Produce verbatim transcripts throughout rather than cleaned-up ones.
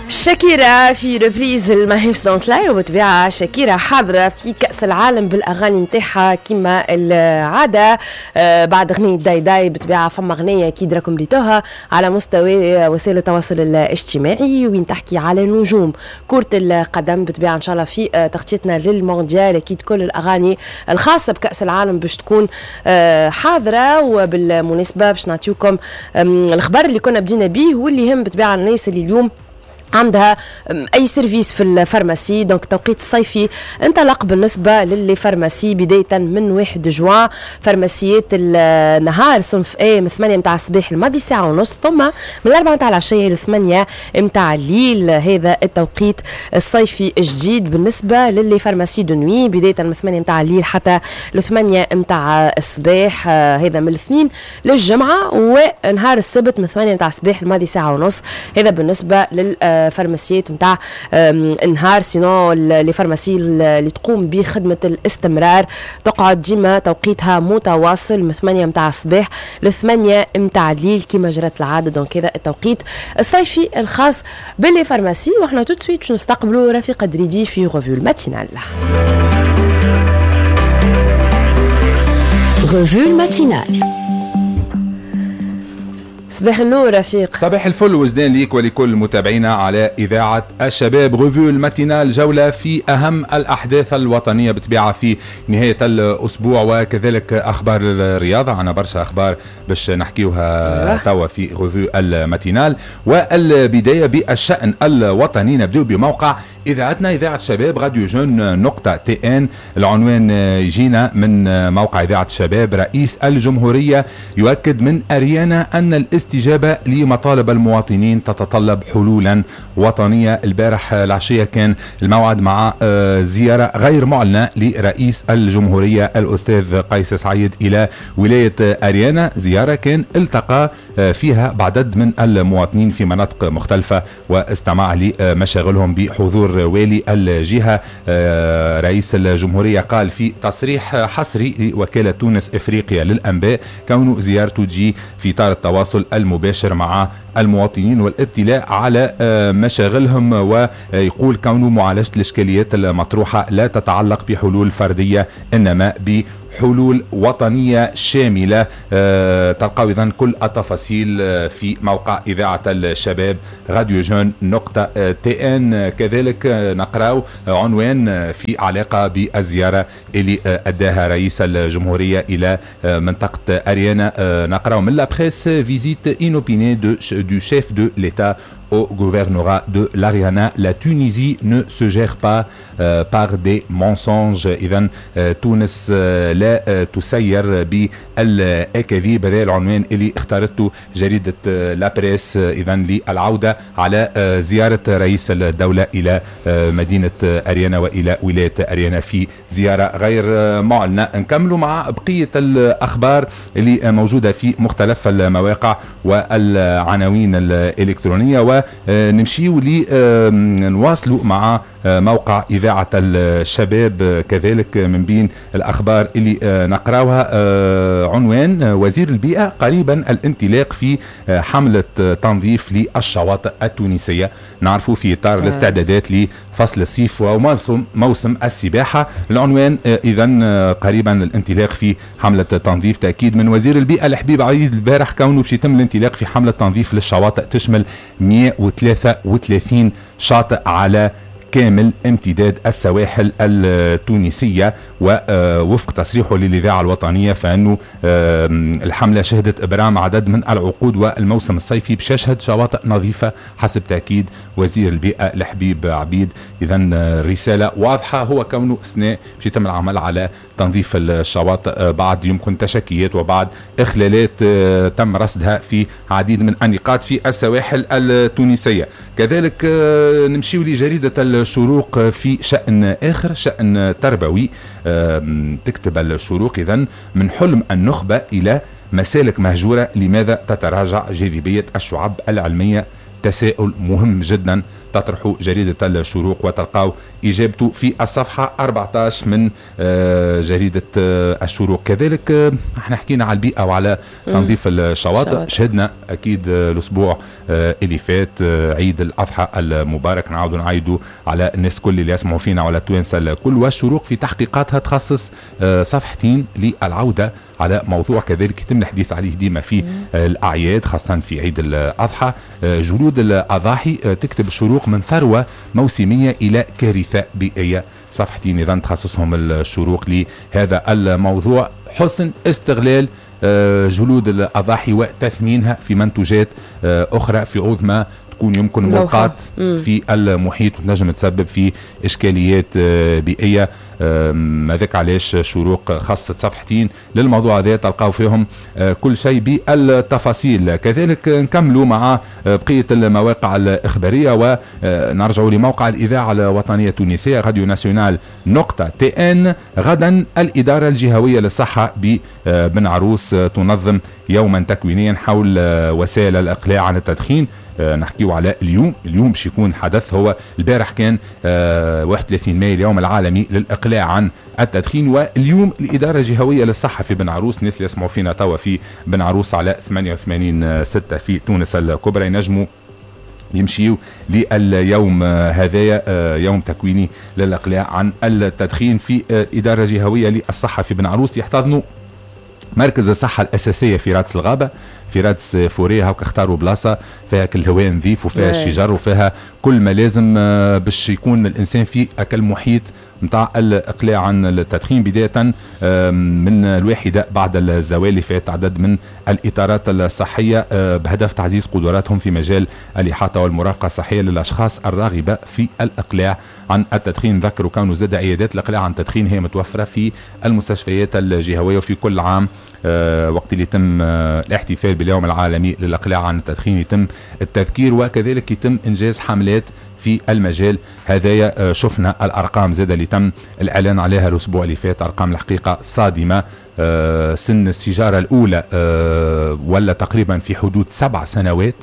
شاكيرا في reprise ل My Hips Don't Lie، وبطبيعة شاكيرا حاضرة في كأس العالم بالأغاني نتاعها كما العادة. آه بعد أغنية داي داي بطبيعة فما أغنية أكيد راكم ريتوها على مستوى وسائل التواصل الاجتماعي وين تحكي على نجوم كرة القدم. بطبيعة إن شاء الله في تغطيتنا للمونديال أكيد كل الأغاني الخاصة بكأس العالم باش تكون آه حاضرة. وبالمناسبة باش نعطيوكم الخبر اللي كنا بدينا به واللي يهم بطبيعة الناس اللي اليوم عندها اي service في ال pharmacie. donc التوقيت الصيفي انطلق بالنسبة ل les pharmacies بداية من واحد جوان. فارماسيات النهار صنف A من ثمانية متاع الصباح الماضي ساعة ونص، ثم من أربعة متاع العشية ل ثمانية متاع الليل. هذا التوقيت الصيفي الجديد بالنسبة ل les pharmacies de nuit بداية من ثمانية متاع الليل حتى ل ثمانية متاع الصباح، هذا من الاثنين للجمعة، ونهار السبت من ثمانية متاع الصباح الماضي ساعة ونص. هذا بالنسبة لل فارماسيات نتاع النهار. sinon les pharmacies اللي تقوم بخدمة الاستمرار تقعد ديما توقيتها متواصل من ثمانية متاع الصباح ل ثمانية متاع الليل كما جرت العادة. donc هذا التوقيت الصيفي الخاص ب les pharmacies. وحنا tout de suite باش نستقبلوا رفيقة دريدي في revue matinale. revue matinale. صباح النور رفيق. صباح الفل وزدان ليك ولكل متابعينا على إذاعة الشباب. revue ال matinale، جولة في أهم الأحداث الوطنية بطبيعة في نهاية الأسبوع، وكذلك أخبار الرياضة. عنا برشا أخبار باش نحكيوها توا في revue ال matinale. والبداية بالشأن الوطني، نبدأ بموقع إذاعتنا إذاعة الشباب radio jeunes نقطة tn. العنوان يجينا من موقع إذاعة الشباب: رئيس الجمهورية يؤكد من أريانا أن الاستجابة لمطالب المواطنين تتطلب حلولا وطنية. البارح العشية كان الموعد مع زيارة غير معلنة لرئيس الجمهورية الأستاذ قيس سعيد إلى ولاية أريانا، زيارة كان التقى فيها بعدد من المواطنين في مناطق مختلفة واستمع لمشاغلهم بحضور والي الجهة. رئيس الجمهورية قال في تصريح حصري لوكالة تونس إفريقيا للأنباء كون زيارته تجي في إطار التواصل المباشر مع المواطنين والاطلاع على مشاغلهم، ويقول كون معالجة الإشكاليات المطروحة لا تتعلق بحلول فردية إنما بحلول وطنية شاملة. تلقوا إذن كل التفاصيل في موقع إذاعة الشباب radio jeunes نقطة tn. كذلك نقرأ عنوان في علاقة بالزيارة اللي أداها رئيس الجمهورية إلى منطقة أريانا، نقرأ من La Presse: visite inopinée du chef de l'État au gouvernorat de l'Ariana. La Tunisie ne se gère pas euh, par des mensonges. إذن تونس لا تسير بالأكاذيب. هذا العنوان اللي اختارته جريدة La Presse إذن للعودة على زيارة رئيس الدولة إلى مدينة أريانا وإلى ولاية أريانا في زيارة غير معلنة. نكملوا مع بقية الأخبار اللي موجودة في مختلف المواقع والعناوين الإلكترونية، و نمشيو لنواصلوا مع موقع إذاعة الشباب. كذلك من بين الأخبار اللي نقراوها عنوان: وزير البيئة قريبا الانطلاق في حملة تنظيف للشواطئ التونسية. نعرفوا في إطار الاستعدادات لفصل الصيف وموسم موسم السباحة. العنوان إذن قريبا الانطلاق في حملة تنظيف، تأكيد من وزير البيئة الحبيب عيد البارح كونه باش يتم الانطلاق في حملة تنظيف للشواطئ تشمل مئة وثلاثة وثلاثين شاطئ على كامل امتداد السواحل التونسية. ووفق تصريحه للإذاعة الوطنية فإنه الحملة شهدت إبرام عدد من العقود، والموسم الصيفي باش يشهد شواطئ نظيفة حسب تأكيد وزير البيئة الحبيب عبيد. إذن رسالة واضحة هو كونه سنة باش يتم العمل على تنظيف الشواطئ بعد يمكن تشكيات وبعد إخلالات تم رصدها في عديد من النقاط في السواحل التونسية. كذلك نمشي لجريدة الشروق في شأن آخر، شأن تربوي. تكتب الشروق إذن: من حلم النخبة إلى مسالك مهجورة، لماذا تتراجع جاذبية الشعب العلمية؟ تساؤل مهم جدا تطرحه جريدة الشروق وتلقاو إجابته في الصفحة أربعة عشر من جريدة الشروق. كذلك احنا حكينا على البيئة وعلى تنظيف الشواطئ، شهدنا أكيد الأسبوع اللي فات عيد الأضحى المبارك، نعاودوا نعيدوا على الناس كل اللي يسمعوا فينا وعلى التوانسة الكل. والشروق في تحقيقاتها تخصص صفحتين للعودة على موضوع كذلك يتم الحديث عليه ديما في الأعياد، خاصة في عيد الأضحى، جلود الأضاحي. تكتب الشروق من ثروة موسمية إلى كارثة بيئية. صفحتين إذن تخصصهم الشروق لهذا الموضوع، حسن استغلال جلود الأضاحي وتثمينها في منتوجات أخرى في عوض ما تكون يمكن ملقاة في المحيط وتنجم تسبب في إشكاليات بيئية. هذاك علاش شروق خصت صفحتين للموضوع هذا، تلقاو فيهم كل شيء بالتفاصيل. كذلك نكملوا مع بقية المواقع الإخبارية ونرجعوا لموقع الإذاعة الوطنية التونسية راديو nationale نقطة تي ان. غدا الإدارة الجهوية للصحة ببن عروس تنظم يوما تكوينيا حول وسائل الإقلاع عن التدخين. نحكيو على اليوم، اليوم باش يكون حدث، هو البارح كان واحد وثلاثين ماي اليوم العالمي للإقلاع عن التدخين، واليوم الإدارة الجهوية للصحة في بن عروس، الناس اللي يسمعوا فينا توا في بن عروس على ثمانية وثمانين ستة في تونس الكبرى ينجموا يمشيوا لليوم هذايا، يوم تكويني للإقلاع عن التدخين في الإدارة الجهوية للصحة في بن عروس. يحتضنوا مركز الصحة الأساسية في رادس الغابة، في رادس forêt، هاك اختاروا بلاصة فيها كل الهواء نظيف وفيها الشجر وفيها كل ما لازم باش يكون الإنسان في أكل محيط نتاع الإقلاع عن التدخين. بداية من الواحدة بعد الزوال اللي فات عدد من الإطارات الصحية بهدف تعزيز قدراتهم في مجال الإحاطة والمرافقة الصحية للأشخاص الراغبة في الإقلاع عن التدخين. ذكروا كانوا زاد عيادات الإقلاع عن التدخين هي متوفرة في المستشفيات الجهوية، وفي كل عام وقت اللي يتم الاحتفال باليوم العالمي للإقلاع عن التدخين يتم التذكير، وكذلك يتم إنجاز حملات في المجال هذايا. شفنا الأرقام زادة اللي تم الإعلان عليها الأسبوع اللي فات، أرقام الحقيقة صادمة. سن السيجارة الأولى ولا تقريبا في حدود سبع سنوات،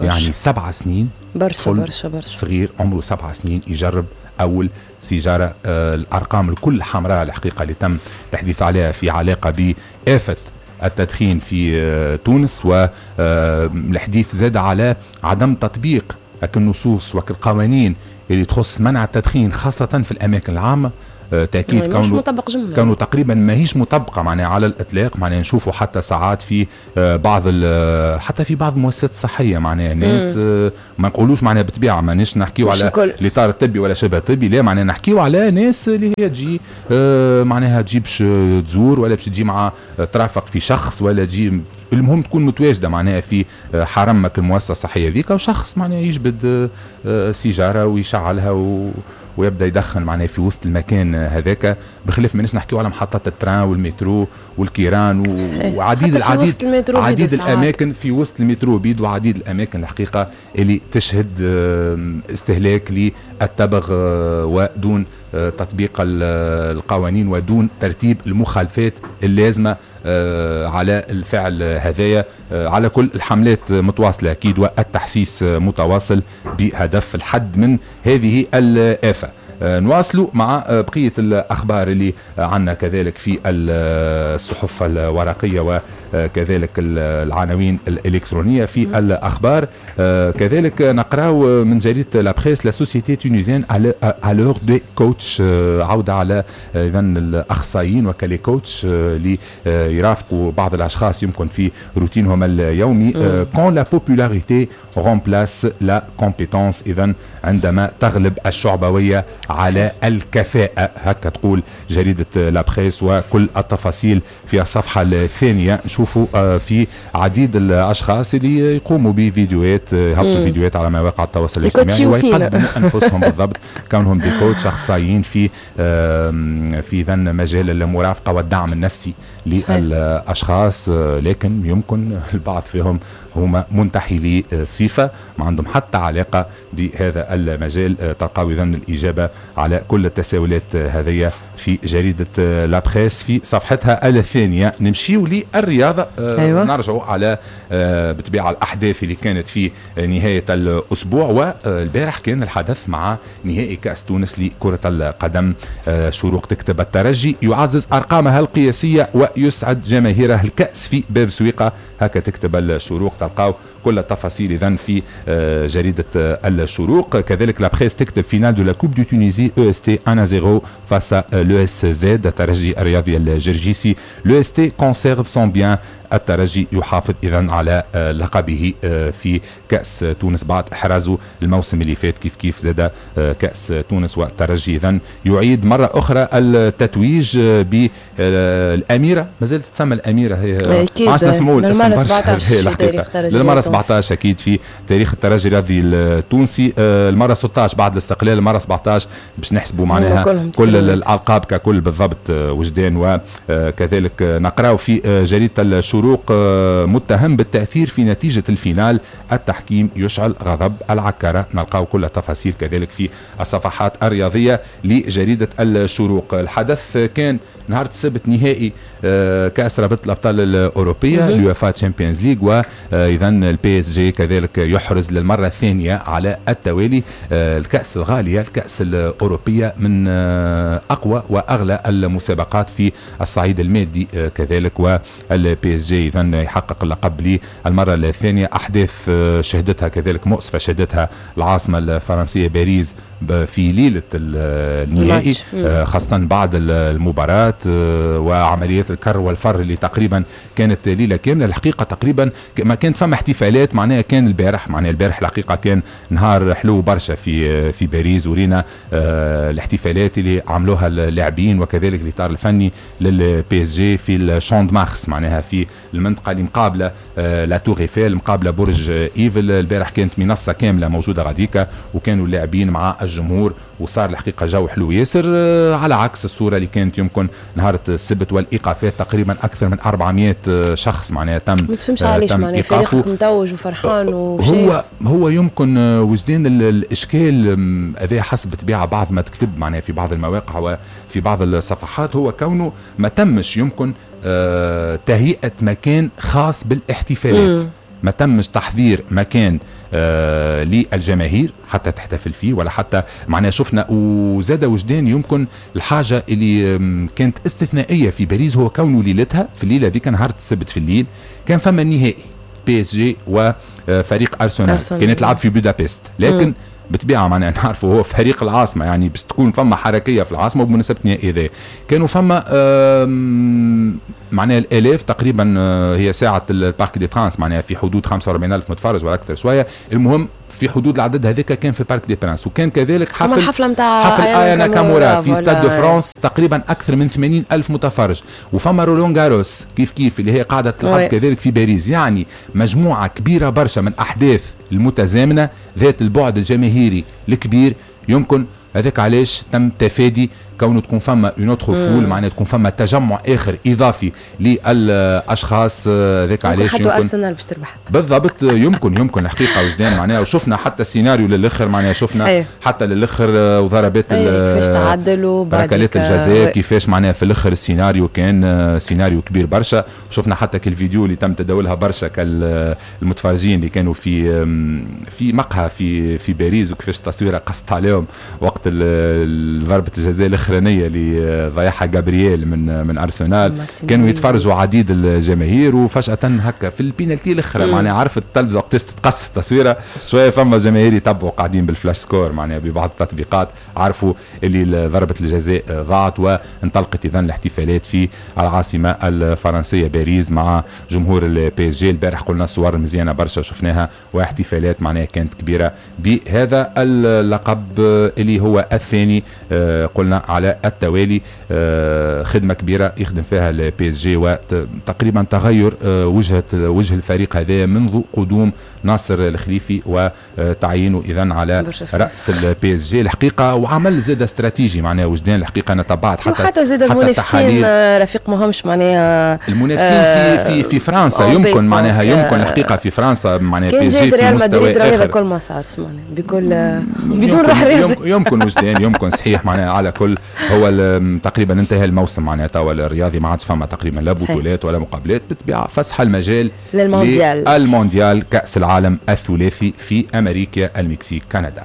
يعني سبع سنين، برشا برشا برشا صغير عمره سبع سنين يجرب أول سيجارة. الأرقام الكل حمراء الحقيقة اللي تم الحديث عليها في علاقة بآفة التدخين في تونس، والحديث زاد على عدم تطبيق النصوص والقوانين اللي تخص منع التدخين خاصة في الأماكن العامة. تأكيد كانوا كانوا تقريبا ماهيش مطبقة معناها على الإطلاق، معناها نشوفوا حتى ساعات في بعض حتى في بعض المؤسسات الصحية معناها ناس ما نقولوش معناها بالطبيعة مانيش نحكيو على الإطار الطبي ولا شبه طبي، لا معناها نحكيو على ناس اللي هي تجي معناها تجي باش تزور ولا باش تجي مع ترافق في شخص ولا تجي، المهم تكون متواجدة معناها في حرمك المؤسسة الصحية ذيك، وشخص معناها يجبد سيجارة ويشعلها و ويبدا يدخن معناها في وسط المكان هذاك، بخلاف ماناش نحكيو على محطات ال train والمترو والكيران و... وعديد العديد عديد الاماكن في وسط المترو بيد، وعديد الاماكن الحقيقة اللي تشهد استهلاك للتبغ ودون تطبيق القوانين ودون ترتيب المخالفات اللازمة على الفعل هذايا. على كل الحملات متواصلة اكيد والتحسيس متواصل بهدف الحد من هذه الآفة. نواصلوا مع بقية الأخبار اللي عنا كذلك في الصحف الورقية وكذلك العناوين الإلكترونية في الأخبار. كذلك نقراو من جريدة La Presse، la société tunisienne à l'heure des coachs، عودة على إذن الأخصائيين وك les coachs اللي يرافقوا بعض الأشخاص يمكن في روتينهم اليومي. quand la popularité remplace la compétence، إذن عندما تغلب الشعبوية على الكفاءة، هكا تقول جريدة La Presse. وكل التفاصيل في الصفحة الثانية. نشوفوا في عديد الأشخاص اللي يقوموا بفيديوهات، يهبطوا فيديوهات على مواقع التواصل الاجتماعي ويقدموا أنفسهم بالضبط كونهم des coachs أخصائيين في في ذن مجال المرافقة والدعم النفسي للأشخاص، لكن يمكن البعض فيهم هما منتحلي صفة، ما عندهم حتى علاقة بهذا المجال. تلقاو إذن الإجابة على كل التساؤلات هذه في جريدة La Presse في صفحتها الثانية. نمشيو للرياضة. أيوة. نرجعوا على بطبيعة الأحداث اللي كانت في نهاية الأسبوع، والبارح كان الحدث مع نهائي كأس تونس لكرة القدم. شروق تكتب الترجي يعزز أرقامها القياسية ويسعد جماهيره الكأس في باب سويقة، هكا تكتب الشروق. تلقاو كل التفاصيل إذن في جريدة الشروق. كذلك La Presse تكتب finale de la Coupe de Tunisie EST واحد صفر face à l'ESZ، الترجي الرياضي الجرجيسي. l'EST conserve son bien، الترجي يحافظ إذن على لقبه في كأس تونس بعد إحرازه الموسم اللي فات كيف كيف زاد كأس تونس. والترجي إذن يعيد مرة أخرى التتويج بالأميرة، ما زالت تسمى الأميرة هي، ما عادش نسمعوا الاسم برشا للمرة سبعطاش أكيد في تاريخ الترجي الرياضي التونسي، المرة ستة عشر بعد الاستقلال، المرة سبعطاش باش نحسبوا معناها كل الألقاب ككل بالضبط وجدان. وكذلك نقراو في جريدة الشروق متهم بالتأثير في نتيجة ال finale، التحكيم يشعل غضب العكارة. نلقاو كل التفاصيل كذلك في الصفحات الرياضية لجريدة الشروق. الحدث كان نهار السبت نهائي كأس رابطة الأبطال الأوروبية اليوفا Champions League، وإذا ال PSG كذلك يحرز للمرة الثانية على التوالي الكأس الغالية، الكأس الأوروبية من أقوى وأغلى المسابقات في الصعيد المادي كذلك، وال PSG إذا يحقق اللقب للمرة الثانية. أحداث شهدتها كذلك مؤسفة، شهدتها العاصمة الفرنسية باريس في ليلة النهائي، خاصة بعد المباراة وعمليات الكر والفر اللي تقريبا كانت ليلة كاملة. الحقيقة تقريبا ما كانت فما احتفالات، معناها كان البارح، معناها البارح الحقيقة كان نهار حلو برشا في في باريس، ورينا الاحتفالات اللي عملوها اللاعبين وكذلك الإطار الفني لل PSG في ال Champ de Mars، معناها في المنطقة اللي مقابلة la Tour Eiffel، مقابلة برج ايفل. البارح كانت منصة كاملة موجودة غاديكا، وكانوا اللاعبين مع الجمهور، وصار الحقيقة جو حلو ياسر، على عكس الصورة اللي كانت يمكن نهار السبت والإيقافات تقريبا أكثر من أربعمائة شخص معناها تم ما تفهمش علاش معناها فريقك متوج وفرحان وشيء. هو هو يمكن وجدان الإشكال هذا حسب طبيعة بعض ما تكتب معناها في بعض المواقع وفي بعض الصفحات، هو كونه ما تمش يمكن تهيئة مكان خاص بالاحتفالات. م. ما تمش تحضير مكان آه للجماهير حتى تحتفل فيه ولا حتى معناها شفنا. وزاد وجدان يمكن الحاجة اللي كانت استثنائية في باريس هو كونه ليلتها في الليلة ذيك نهار السبت في الليل كان فما النهائي PSG وفريق أرسنال، كانت تلعب في بودابست، لكن بطبيعة معناها نعرفوا هو فريق العاصمة، يعني باش تكون فما حركية في العاصمة. وبمناسبة النهائي ذا كانوا فما معناها الالاف تقريبا، هي ساعة ال Parc des Princes معناها في حدود خمسة وأربعين ألف متفرج ولا اكثر شوية، المهم في حدود العدد هذاك كان في Parc des Princes. وكان كذلك حفل حفلة متاع حفل آيا ناكامورا في Stade de France تقريبا اكثر من ثمانين ألف متفرج، وفما رولون غاروس كيف كيف اللي هي قاعدة تلعب كذلك في باريس. يعني مجموعة كبيرة برشا من احداث المتزامنه ذات البعد الجماهيري الكبير، يمكن هذاك علاش تم تفادي كونه تكون فما une autre foule، معناها تكون فما تجمع اخر اضافي للاشخاص. هذاك علاش يمكن ارسنال باش تربح بالضبط. يمكن يمكن الحقيقة وجدان معناها، وشفنا حتى السيناريو للاخر معناها شفنا صحيح. حتى للاخر وضربات كيفاش تعدلوا ركلات الجزاء كيفاش معناها في الاخر السيناريو كان سيناريو كبير برشا. وشفنا حتى كالفيديو اللي تم تداولها برشا كالمتفرجين اللي كانوا في في مقهى في في باريس، وكيفاش التصويره قصت عليهم وقت ضربه الجزاء الاخرانية اللي ضيعها جابرييل من من ارسنال. كانوا يتفرجوا عديد الجماهير، وفجاة هكا في البينالتي الاخرى معناها عرفت التلفزة وقتاش تتقص التصويره شوية، فما جماهير يتبعوا قاعدين بال Flashscore معناها ببعض التطبيقات، عرفوا اللي ضربه الجزاء ضاعت، وانطلقت اذا الاحتفالات في العاصمة الفرنسية باريس مع جمهور ال PSG. البارح قلنا صور مزيانه برشا شفناها، واحتفالات معناها كانت كبيرة بهذا اللقب اللي هو هو الثاني قلنا على التوالي. خدمة كبيرة يخدم فيها ال PSG، وتقريبا تغير وجهه وجه الفريق هذا منذ قدوم ناصر الخليفي وتعيينه اذا على راس ال PSG الحقيقه، وعمل زاد استراتيجي معناها وجدان الحقيقه. انا تبعت حتى حتى زاد المنافسين رفيق ماهمش معناها المنافسين آه في في في فرنسا يمكن معناها يمكن الحقيقة في فرنسا معناها PSG في مستوى اخر. هذا كل ما صارش معناها بكل بدون روح رياضي يمكن وجدان يمكن صحيح معناها. على كل هو تقريبا انتهى الموسم معناها توا الرياضي، ما عادش فما تقريبا لا بطولات ولا مقابلات، بالطبيعة فسح المجال للمونديال، المونديال كاس العالم الثلاثي في امريكا، المكسيك، كندا.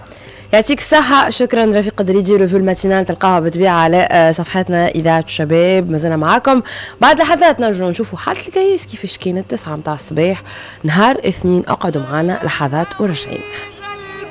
يعطيك الصحة، شكرا رفيق دريدي. revue ال matinale تلقاها بالطبيعة على صفحتنا إذاعة الشباب. مازلنا معاكم بعد لحظات نرجعوا نشوفوا حالة الكيس كيفاش كانت تسعة متاع الصباح نهار اثنين. اقعدوا معنا لحظات وراجعين.